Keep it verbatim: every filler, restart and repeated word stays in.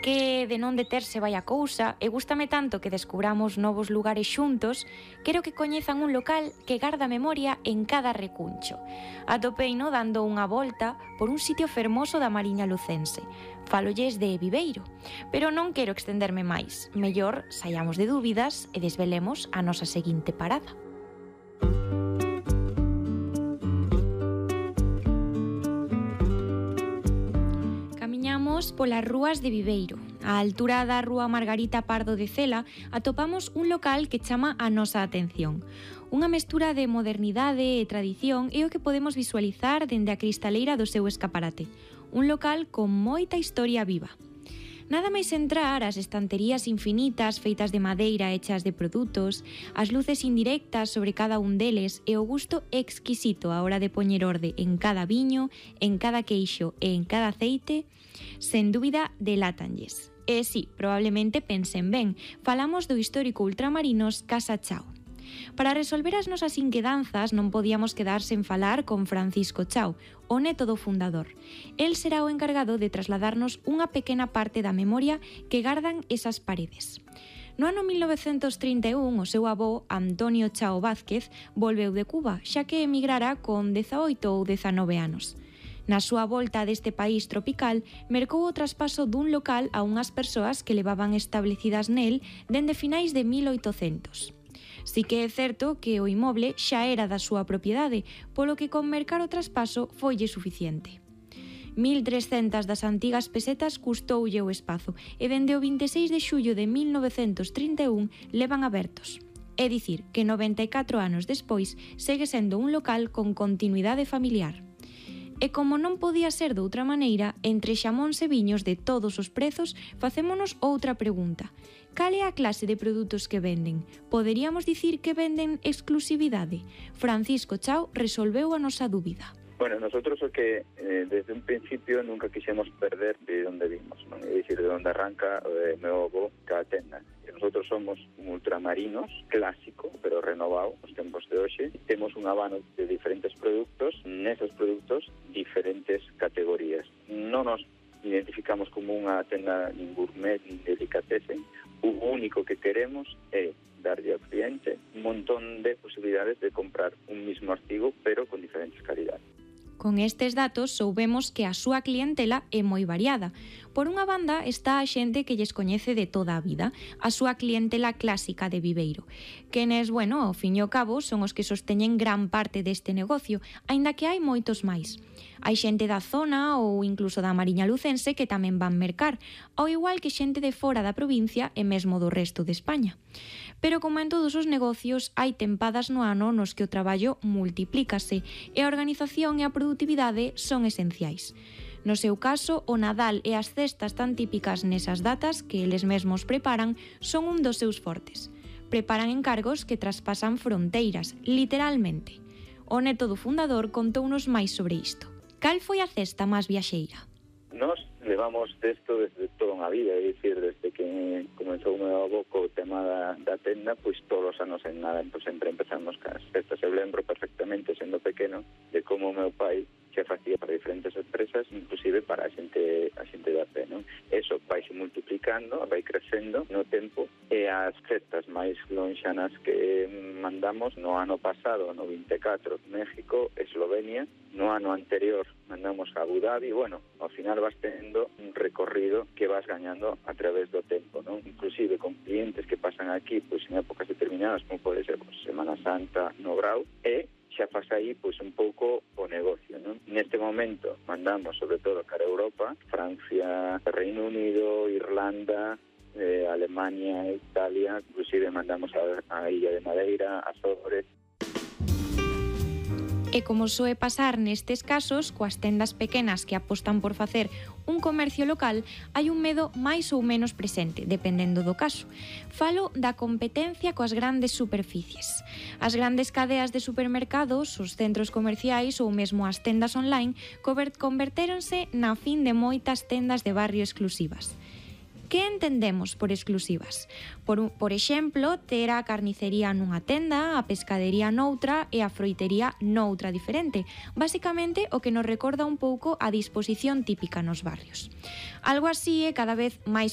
Que de non deterse vai a cousa e gústame tanto que descubramos novos lugares xuntos, quero que coñezan un local que garda memoria en cada recuncho. Atopeino dando unha volta por un sitio fermoso da Mariña Lucense. Falolles de Viveiro, pero non quero extenderme máis. Mellor saiamos de dúbidas e desvelemos a nosa seguinte parada. Camiñamos polas rúas de Viveiro. Á altura da rúa Margarita Pardo de Cela atopamos un local que chama a nosa atención. Unha mestura de modernidade e tradición é o que podemos visualizar dende a cristaleira do seu escaparate. Un local con moita historia viva. Nada máis entrar, as estanterías infinitas feitas de madeira hechas de produtos, as luces indirectas sobre cada un deles e o gusto exquisito á hora de poñer orde en cada viño, en cada queixo e en cada aceite, sen dúbida delátanlles. E si, probablemente pensen ben, falamos do histórico ultramarinos Casa Chao. Para resolver as nosas inquedanzas non podíamos quedar sen falar con Francisco Chao, o neto do fundador. El será o encargado de trasladarnos unha pequena parte da memoria que gardan esas paredes. No ano mil novecentos trinta e un, o seu avó, Antonio Chao Vázquez, volveu de Cuba, xa que emigrara con dezaoito ou dezanove anos. Na súa volta deste país tropical, mercou o traspaso dun local a unhas persoas que levaban establecidas nel dende finais de mil oitocentos. Si que é certo que o inmoble xa era da súa propiedade, polo que con mercar o traspaso foille suficiente. mil trescentas das antigas pesetas custoulle o espazo e dende o vinte e seis de xullo de mil novecentos trinta e un levan abertos. É dicir, que noventa e catro anos despois segue sendo un local con continuidade familiar. E como non podía ser de outra maneira, entre xamóns e viños de todos os prezos, facémonos outra pregunta. Cal é a clase de produtos que venden? Poderíamos dicir que venden exclusividade? Francisco Chao resolveu a nosa dúbida. Bueno, nosotros o que eh, desde un principio nunca quixemos perder de onde vimos, non? É dicir, de onde arranca o meu avó cada tenda. E nosotros somos un ultramarinos clásico, pero renovado nos tempos de hoxe. Temos un abano de diferentes produtos, neses produtos diferentes categorías. Non nos identificamos como unha tenda nin gourmet, nin delicatessen. O único que queremos é darlle ao cliente un montón de posibilidades de comprar un mismo artigo, pero con diferentes calidades. Con estes datos soubemos que a súa clientela é moi variada. Por unha banda está a xente que lles coñece de toda a vida, a súa clientela clásica de Viveiro. Quenes, bueno, ao fin e ao cabo, son os que sosteñen gran parte deste negocio, aínda que hai moitos máis. Hai xente da zona ou incluso da Mariña Lucense que tamén van mercar, ao igual que xente de fora da provincia e mesmo do resto de España. Pero como en todos os negocios, hai tempadas no ano nos que o traballo multiplícase e a organización e a produtividade son esenciais. No seu caso, o Nadal e as cestas tan típicas nesas datas que eles mesmos preparan son un dos seus fortes. Preparan encargos que traspasan fronteiras, literalmente. O neto do fundador contounos máis sobre isto. Cal foi a cesta máis viaxeira? Nos levamos desto desde toda unha vida, é dicir, desde que comenzou o meu avó co tema da, da tenda, pois todos os anos en nada, pues, sempre empezamos cas cestas. Eu lembro perfectamente, sendo pequeno, de como o meu pai se facía para diferentes empresas, inclusive para a xente, a xente da pé, non? Eso vai se multiplicando, vai crecendo no tempo, e as cestas máis lonxanas que mandamos no ano pasado, no vinte e catro, México, Eslovenia, no ano anterior mandamos a Abu Dhabi. Bueno, ao final vas tendo un recorrido que vas gañando a través do tempo, non? Inclusive con clientes que pasan aquí, pois en épocas determinadas, como pode ser pois, Semana Santa no Grau, e xa faz aí pois un pouco o negocio, non? Neste momento mandamos sobre todo cara a Europa, Francia, Reino Unido, Irlanda, eh, Alemania, Italia, inclusive mandamos a, a Illa de Madeira, Azores. E como soe pasar nestes casos, coas tendas pequenas que apostan por facer un comercio local, hai un medo máis ou menos presente, dependendo do caso. Falo da competencia coas grandes superficies. As grandes cadeas de supermercados, os centros comerciais ou mesmo as tendas online convertéronse na fin de moitas tendas de barrio exclusivas. Que entendemos por exclusivas? Por, un, por exemplo, ter a carnicería nunha tenda, a pescadería noutra e a froitería noutra diferente. Basicamente, o que nos recorda un pouco a disposición típica nos barrios. Algo así é cada vez máis